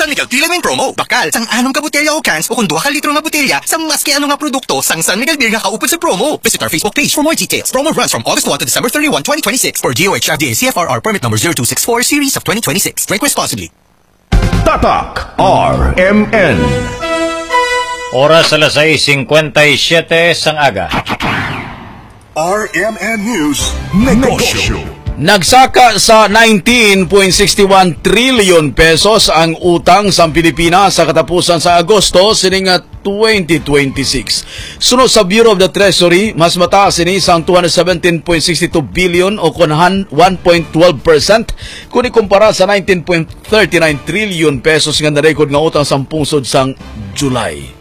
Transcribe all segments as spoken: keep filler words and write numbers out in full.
San Miguel Three-in-one Promo. Bakal, sang anom ka botelya o cans o kon duha ka litro nga botelya sa maski ano nga produkto sang San Miguel Beer nga kaupod sa promo. Visit our Facebook page for more details. Promo runs from August one to December thirty-one, twenty twenty-six, per D O H F D A C F R R permit number zero two six four series of twenty twenty-six. Drink responsibly. Tatak R M N. Oras alas sais singkwenta y siyete sang aga. R M N News, Negosyo. Nagsaka sa nineteen point six one trillion pesos ang utang sang Pilipinas sa katapusan sa Agosto sining nga twenty twenty-six. Suno sa Bureau of the Treasury, mas mataas ini sang two hundred seventeen point six two billion o kon han-, one point twelve percent, kung ikumpara sa nineteen point thirty-nine trillion pesos nga na-record nga utang sang pungsod sang July.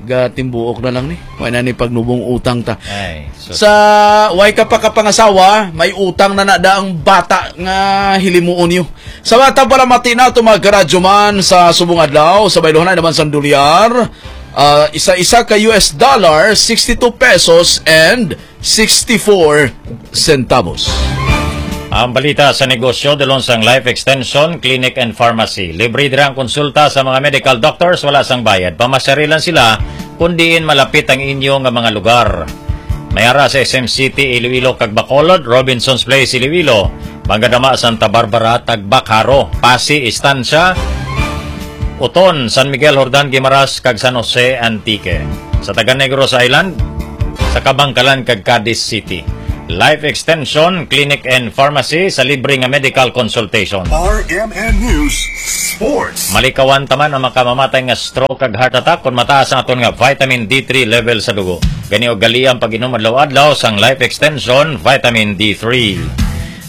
Gatimbuok na lang ni. Wala na ni pagnubong utang ta. Ay, sus. Sa way ka pa kapangasawa, may utang na nada ang bata nga hilimuon niyo. Sa bata pala, mati na ito, mga karadyoman, sa subong adlaw, sa bayluhan naman sang dolyar, ah, isa-isa ka U S dollar, sixty-two pesos and sixty-four centavos. Ang balita sa negosyo, dulong sang Life Extension Clinic and Pharmacy. Libre dira ang konsulta sa mga medical doctors, wala sang bayad. Pamasyari lang sila kung diin malapit ang inyo nga mga lugar. May ara sa S M City, Iloilo, kag Bacolod, Robinson's Place, Iloilo, Magadama, Santa Barbara, Tagbakaro, Pasi, Estancia, Oton, San Miguel, Jordan, Guimaras, kag San Jose, Antique. Sa taga Negros Island, sa Kabangkalan kag Cadiz City. Life Extension, Clinic and Pharmacy sa libre nga medical consultation. R M N News Sports. Malikawan ta man ang makamamatay nga stroke kag heart attack kon mataas ang aton nga vitamin D three level sa dugo. Gani, ugalian ang pag-inom adlaw-adlaw sang Life Extension Vitamin D three.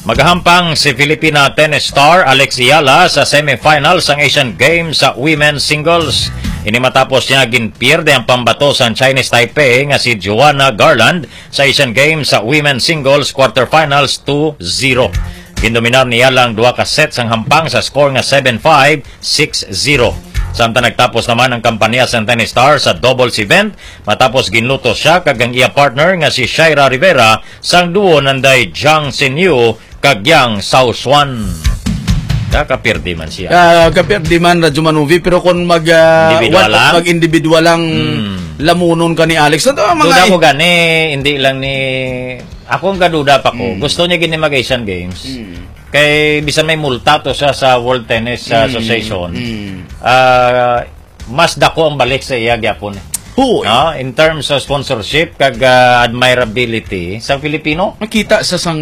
Magahampang si Filipina tennis star Alex Eala sa semifinals sang Asian Games sa women's singles. Ini matapos niya ginpierde ang pambato sang Chinese Taipei nga si Joanna Garland sa Asian Games sa women's singles quarterfinals two zero. Gindominar ni Eala ang duha ka set sang hampang sa score nga seven five, six zero. Samtang nagtapos naman ang kampanya sang tennis star sa doubles event, matapos ginluto siya kag ang iya partner nga si Shaira Rivera sang duo nanday Jiang Xinyu kag Yang Xiaoshuan. Kakapirdi man siya. Ah, kapirdi man, Radyo Manuvi, pero kung mag, ah, Individual one, lang? Mag-individual lang, Hmm. lamunon ka ni Alex. Ano ang mga Duda i- ko gani, hindi lang ni, ako ang kaduda pa ko. Hmm. Gusto niya gini mag-Asian Games. Hmm. Kay bisan may multa to siya sa World Tennis, ah, Hmm. Association. Hmm. Ah, mas dako ang balik sa iya gyapon. Oo, eh. No? In terms of sponsorship kag, ah, admirability sa Filipino. Makita sa sang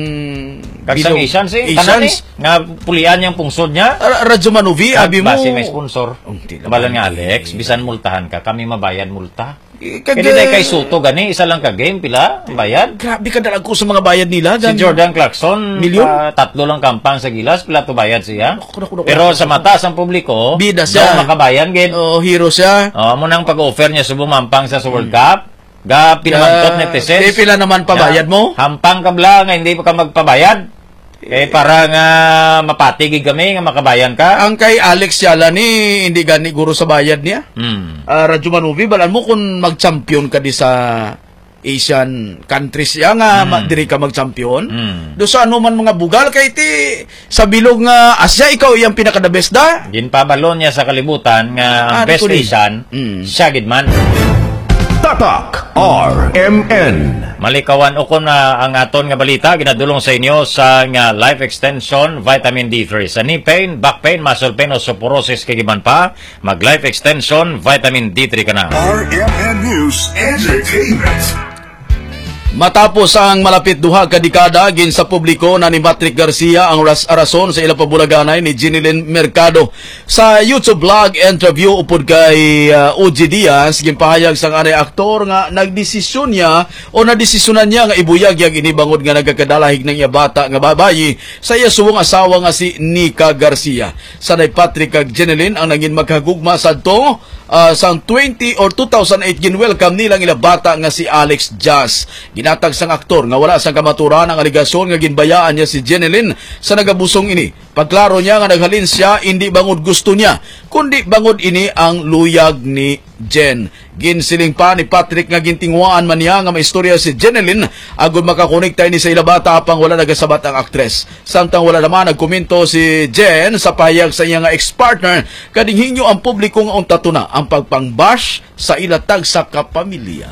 Kag sa bilog. Asians, eh, Asians. Tanan, eh, nga pulian niyang pungsod niya. Ra-, Radyo Manuvi, Kag abi mo. Basi may sponsor. Oh, di naman. Balan nga, Alex, Eh. bisan multahan ka, kami mabayad multa. Eh, kag, Kaya di na eh, kay Soto gani, isa lang ka game, pila ang bayad? Grabe ka dalag ko sa mga bayad nila, Si gan- Jordan Clarkson, Milyon? ah, tatlo lang kampang sa Gilas, pila to bayad siya? Naku, naku, naku, Pero naku, sa naku. mata sang publiko, Bida siya. daw makabayan gid. Oo, hero siya. Oh, amo nang pag-offer niya subong mampang sa, sa World Hmm. Cup. Ga pinamangkot Ga-, netizens. eh, pila naman pabayad Ya, mo? hampang ka bala nga hindi pa ka magpabayad. Eh, para nga mapati gid kami nga makabayan ka. Ang kay Alex Yala ni, hindi gani guro sa bayad niya. Hmm. Ah, Radyo Manuvi, balan mo kung mag-champion ka di sa Asian countries siya nga ma-, Hmm. diri ka mag-champion. Hmm. Do sa ano man mga bugal kay ti sa bilog nga Asia, ikaw iyang pinaka-the best da. Ginpabalo niya sa kalibutan nga ang Ah, best di ko ni. Asian, Hmm. siya gid man. Tatak R M N. Malikawan ukon na ang aton nga balita, ginadulong sa inyo sa nga Life Extension Vitamin D three. Sa knee pain, back pain, muscle pain, osteoporosis, kag iban pa, mag Life Extension Vitamin D three ka na. R M N News Entertainment. Matapos ang malapit duha ka dekada, ginsapubliko na ni Matric Garcia ang ras-, rason sa ila pabulaganay ni Jenilyn Mercado. Sa YouTube vlog interview upod kay, ah, O G Diaz, ginpahayag sang anay aktor nga nagdesisyon niya o nadesisyonan niya nga ibuyag iya ini bangod nga nagakadalahig ng iya bata nga babayi sa iya subong asawa nga si Nika Garcia. Sanay Patrick kag Jenilyn ang nangin magkahagugma sadto, ah, sang twenty or two thousand eight, ginwelcome nila ang ila bata nga si Alex Jazz. Ginatag sang aktor nga wala sang kamaturan ang alegasyon nga ginbayaan niya si Jenilyn sa nagabusong ini. Pagklaro niya nga naghalin siya, indi bangod gusto niya, kundi bangod ini ang luyag ni Jen. Ginsiling pa ni Patrick nga gintinguhaan man niya nga maistorya si Jenelyn agud makakonekta ini sa ila bata, apang wala nagasabat ang aktres. Samtang wala naman nagkomento si Jen sa pahayag sa iya nga ex-partner, kadinghinyo ang publiko nga unta to na ang pagpangbash sa ila tagsa ka pamilya.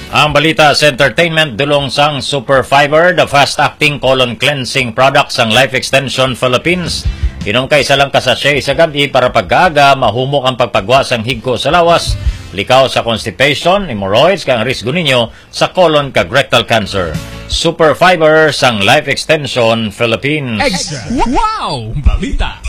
Ang balita sa entertainment, dulong sang Super Fiber, the fast-acting colon cleansing product sang Life Extension Philippines. Inom ka isa lang ka sachet sa gab-i para pagkaaga, mahumok ang pagpagwa sang higko sa lawas, likaw sa constipation, hemorrhoids, kag ang risgo ninyo sa colon kag rectal cancer. Super Fiber sang Life Extension Philippines. Extra. Wow! Balita.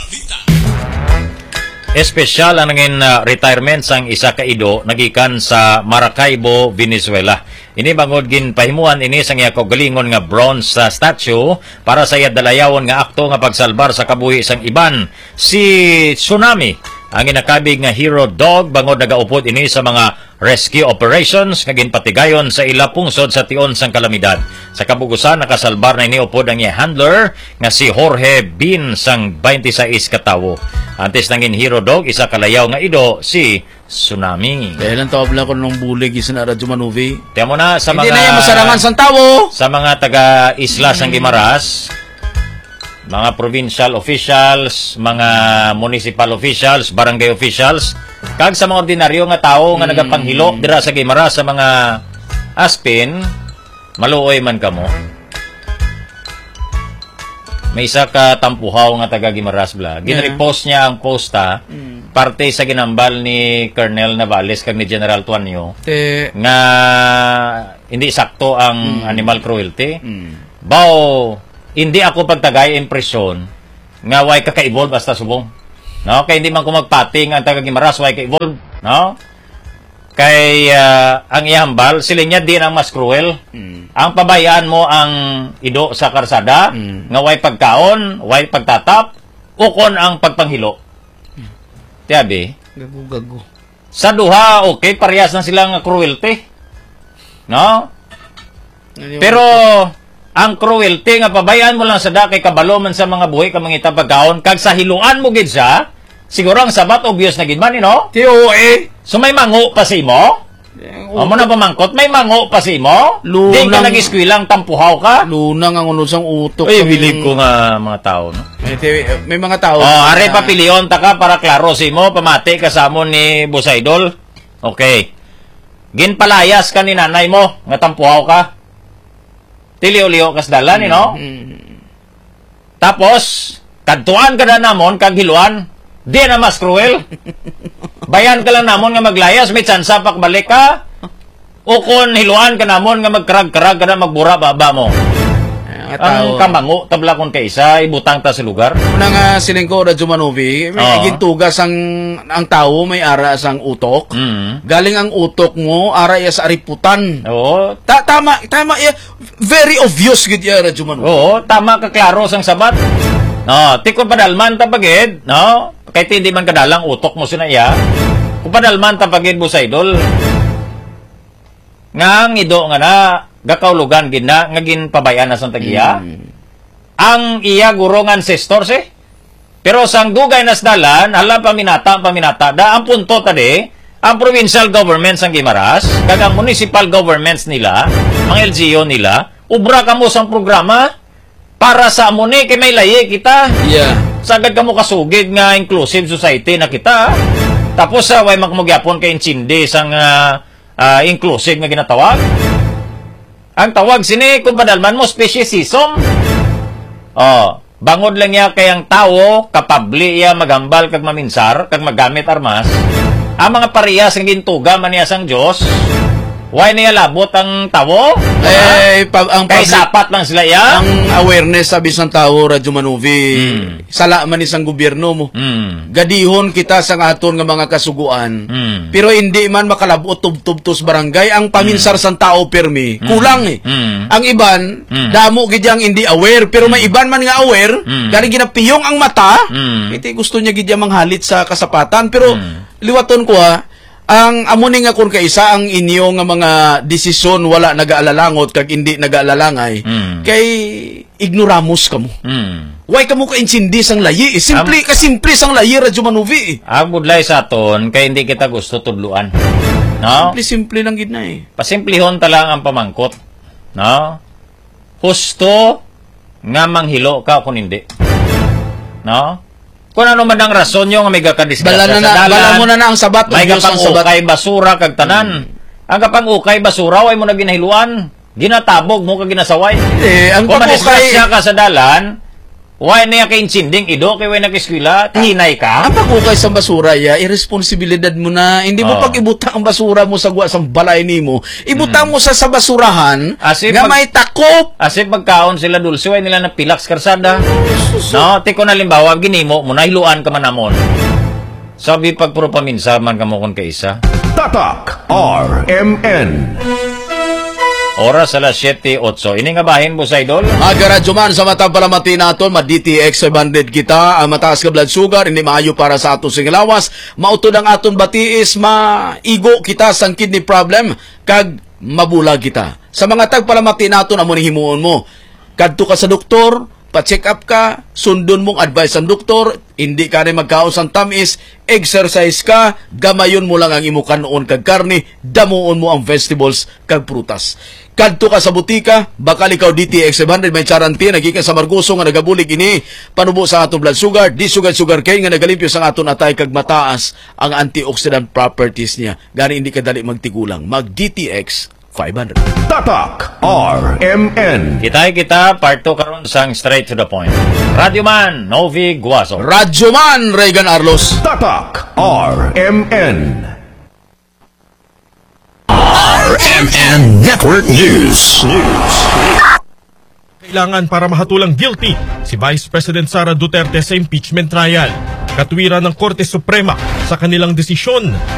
Espesyal ang nangin, ah, retirement sang isa ka ido nagikan sa Maracaibo, Venezuela. Ini bangod ginpahimuan ini sang iya kaugalingon nga bronze, ah, statue para sa iya dalayawon nga akto nga pagsalbar sa kabuhi sang iban, si Tsunami, ang ginakabig nga hero dog, bangod nagaupod ini sa mga rescue operations nga ginpatigayon sa ila pungsod sa tion sang kalamidad. Sa kabug-usan, nakasalbar na ini upod ang iya handler nga si Jorge Bin sang twenty-six ka tawo. Antes nangin hero dog, isa ka layaw nga ido si Tsunami. Kaya lang tawag lang ko nung bulig isa na Radyo Manuvi. Tiyan mo na sa Hindi mga na yan masarangan sang tawo. Sa mga taga-isla sang Mm. Guimaras, mga provincial officials, mga municipal officials, barangay officials, kag sa mga ordinaryo nga tawo nga Mm. nagapanghilo dira sa Guimaras sa mga Aspen, maluoy man kamo. May isa ka tampuhaw nga taga Guimaras, bla. Yeah. Ginrepost niya ang post, ha, Mm. parte sa ginambal ni Colonel Navales kag ni General Tuanyo Te- nga hindi sakto ang Mm. animal cruelty. Mm. Baw, hindi ako pagtagay impresyon nga way ka ka-evolve hasta subong. No? Kay hindi man ko magpating ang taga Guimaras, way ka-evolve. No? Kay, ah, ang ihambal, sila niya din ang mas cruel. Mm. Ang pabayaan mo ang ido sa karsada, Mm. nga way pagkaon, way pagtatap, ukon ang pagpanghilo. Mm. Tiyabi? Gago-gago. Sa duha, okay, parehas na sila nga cruelty. No? Ano yung Pero, ang cruelty nga pabayaan mo lang sa da kay kabalo man sa mga buhi ka mangita pagkaon, kag sa hiluan mo gid siya, siguro ang sabat obvious na gid man, eh, no? T O A. So may mango pa sa imo? Eh, Amo na pamangkot, may mango pa sa imo? Lunang Di ka nag-eskwela, ang tampuhaw ka? Lunang ang ulo sang utok Uy, sang bilib ko nga mga tao, no? May, ti- may mga tao Oh, na are papilion ta ka para klaro sa imo, pamati ka sa amon ni Boss Idol. Okay. Ginpalayas ka ni nanay mo, nga tampuhaw ka. Tiliw-liw ka sa dalan, eh, no? Mm. Tapos, kadtuan ka na namon, kag hiluan, di na mas cruel. Bayan ka lang namon nga maglayas, may tsansa pakbalik ka. O kon hiluan ka namon nga magkarag-karag ka na, magbura baba mo. Ang Ang tao. kamango, tabla kon kaisa, ibutang ta sa lugar. Una nga siling ko, Radyo Manovi, may Oh. gintugas ang, ang tawo, may ara sang utok. Mm. Galing ang utok mo, ara iya sa ariputan. Oo. Ta-, tama, tama iya. Very obvious gid iya, Radyo Manovi. Oo, tama ka, klaro sang sabat. No, ti kung padalman ta pagid, no? Kay ti hindi man kadalang utok mo sina iya. Kung padalman ta pagid, Boss Idol. Nga ang ido nga na, gakaulugan gid na, nga ginpabay-an na sang tag-iya. Mm. Ang iya guro nga ancestors, eh. Pero sang dugay na sa dalan, hala, paminata, paminata, da, ang punto tadi, ang provincial government sang Guimaras, kag ang municipal governments nila, mga L G U nila, ubra kamo sang programa para sa amo ni, kay may layi kita. Yeah. Sagad kamo kasugid nga inclusive society na kita. Tapos, ah, way man kamo gyapon kay intindi sang, ah, ah, inclusive nga ginatawag. Ang tawag sini, kung padalman mo, speciesism. Oh, bangod lang niya kay ang tawo, kapabli iya maghambal kag maminsar, kag maggamit armas, ang mga parehas nga gintuga man niya sang Dios, way niya labot ang tawo? Eh, pa- ang Kay public- sapat lang sila iya? Ang awareness sa bisan tawo, Radyo Manovi, Hmm. sala man ni sang gobyerno mo. Mm. Gadihon kita sang aton nga mga kasuguan. Mm. Pero hindi man makalabot tubtob to sa barangay. Ang paminsar Mm. sang tao permi, Mm. kulang eh. Mm. Ang iban, Mm. damo gid yang hindi aware. Pero may Mm. iban man nga aware, Mm. gani ginapiyong ang mata, Mm. iti gusto niya gid yang manghalit sa kasapatan. Pero Mm. liwaton ko ha, ang amo ni nga kung kaisa ang inyo nga mga desisyon wala nagaalalangot kag hindi nagaalalangay. Mm. Kay ignoramos kamo. Hmm. Why kamo kaintindi sang layi? Eh? Simple, Am- kasimple sang layi, Radyo Manuvi. Eh. Ang budlay sa aton, kay hindi kita gusto tudluan. No? Simple-simple lang gid na eh. Pasimplihon ta lang ang pamangkot. No? Husto nga manghilo ka kung hindi. No? Kung ano man ang rason nyo nga may gakadisgrasya Bala na sa na, dalan, bala mo na na ang sabat, may ang Diyos ang sabat. Kapang-ukay basura kag tanan. Hmm. Ang kapang-ukay basura, way mo na ginahiluan. Ginatabog mo kag ginasaway. Eh, ang Kung pag-ukay madisgrasya ka sa dalan, way niya kaintinding ido, kay way nag-eskwela, hinay ka. Ang pag-ukay sa basura, ya, iresponsibilidad mo na. Hindi mo Oh. pag-ibutang ang basura mo sa guwa sang balay nimo. Ibutang Hmm. mo sa, sa basurahan As if nga mag- may takop. As if magkaon sila dulce, way nila napilak sa karsada. Sus. No, ti kon halimbawa, ginimo mo, nahiluan ka man namon. Sabi pag puro paminsa man kamo kon kaisa. Tatak R M N. Oras alas siyete otso. Ini nga bahin, Boss Idol. Aga Radyo Man, sa matag palamati naton, ma D T X five hundred kita, ang mataas nga blood sugar, hindi maayo para sa aton sing lawas, mautod ang aton batiis, maigo kita sang kidney problem, kag mabulag kita. Sa mga tagpalamati naton, amo ni himuon mo. Kadto ka sa doktor, pa-check up ka, sundon mong advice sang doktor, hindi ka rin magkaon sang tamis, exercise ka, gamayon mo lang ang imo kanon kag karne, damuon mo ang vegetables kag prutas. Kadto ka sa butika, bakal ikaw D T X five hundred may charanti, nagikan sa Margoso nga nagabulig ini, panubo sa atong blood sugar, di sugar sugar cane nga nagalimpyo sa aton atay kag mataas ang antioxidant properties niya. Gani hindi ka dali magtigulang. Mag D T X five hundred. Tatak R M N. Kitay kita, part two karon sang Straight to the Point. Radyo Man, Novi Guaso. Radyo Man, Reagan Arlos. Tatak R M N. R M N Network News. News. Kailangan para mahatulang guilty si Vice President Sara Duterte sa impeachment trial. Katwiran ng Korte Suprema sa kanilang desisyon